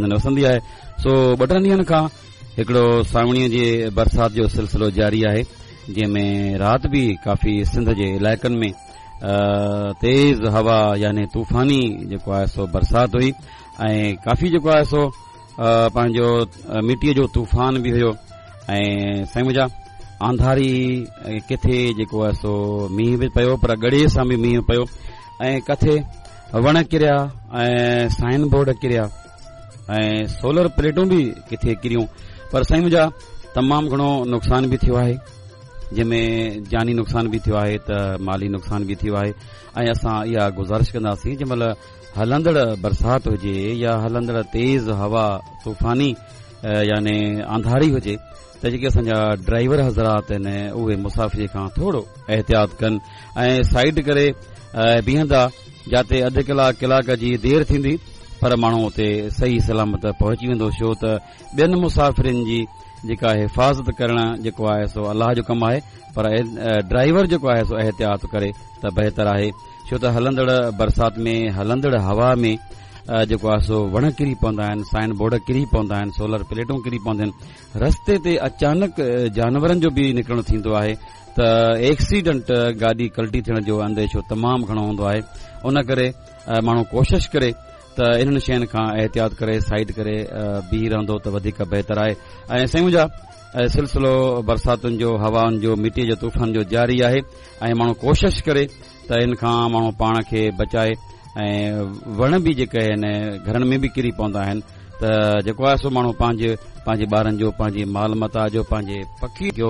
هنڌن وسندي آهي سو ٻه ٽن ڏينهن کان هڪڙو سانوڻيء جي برسات جو سلسلو جاري آهي جنهن ۾ رات به ڪافي سنڌ جي علائقن ۾ تيز هوا يعني طوفاني جيڪو آهي سو برسات هئي ۽ ڪافي جيڪو آهي سو پنهنجو مٽيء جو طوفان به هيو ۽ سائين منهنجا آنڌاري ڪٿي جيڪو آهي سو مينهن به پيو پر ڳڙي سان به مينهن پيو ۽ ڪٿي وڻ ڪريا ۽ سائن بورڊ ڪريا ۽ سولر پليٽون به ڪٿي ڪريون پر سائين منهنجا تمام گهڻو نقصان به ٿيو آهي جنهن ۾ جاني نقصان به ٿيو آهي ته مالي نقصان به ٿيو آهي ۽ اسان اها گذارش ڪنداسين جنهن مهل هلندڙ برسات هجي يا هلندڙ تيز هوا طوفاني يعني آنڌاري هجي ته جيڪي اسان جا ڊرائيور حضرات آهن اهي مسافري کان ٿورو احتياط ڪن ۽ سائيڊ ڪري بيهندا جاتي اڌ ڪلاڪ ڪلاڪ جي دير ٿيندي پر ماڻهو اتي صحيح سلامت پهچي ويندو ڇو ته ٻين مسافرين جي جيڪا حفاظت ڪرڻ جيڪو آهي سو الله جو ڪم آهي پر ڊرائيور جيڪو آهي سو احتياط ڪري ته بهتر آهي ڇو ته هلندڙ برسات ۾ هلندڙ هوا ۾ جيڪو آهي سو وڻ ڪري پوندا آهن سائن بورڊ ڪري پوندا آهن سولر پليٽون ڪري پونديون آهن رستي تي اچانڪ جانورن جو به نڪرڻ ٿيندو آهي ته ايڪسيڊنٽ گاڏي ڪلٽي ٿيڻ جو انديشو تمام گهڻو هوندو آهي ان ڪري ماڻهو ڪوشش ڪري ته انهن شين کان احتياط ڪري سائيڊ ڪري بيهي رهندو ته وڌيڪ بهتر آهي ۽ سائين منهنجا سلسلو برساتن جو هوائن جو مٽي جو طوفان جو جاري آهي ۽ ماڻهو ڪوشش ڪري ته ان کان ماڻهو پاڻ کي بچائي ۽ وڻ به جيڪي آهن گهرن ۾ به ڪري پوندا آهن ته جيڪو آهي سو ماڻهو پنهنجي پنهنجي ٻارن جو پنهنجي مال متاع جو پنهنجي پکي جو.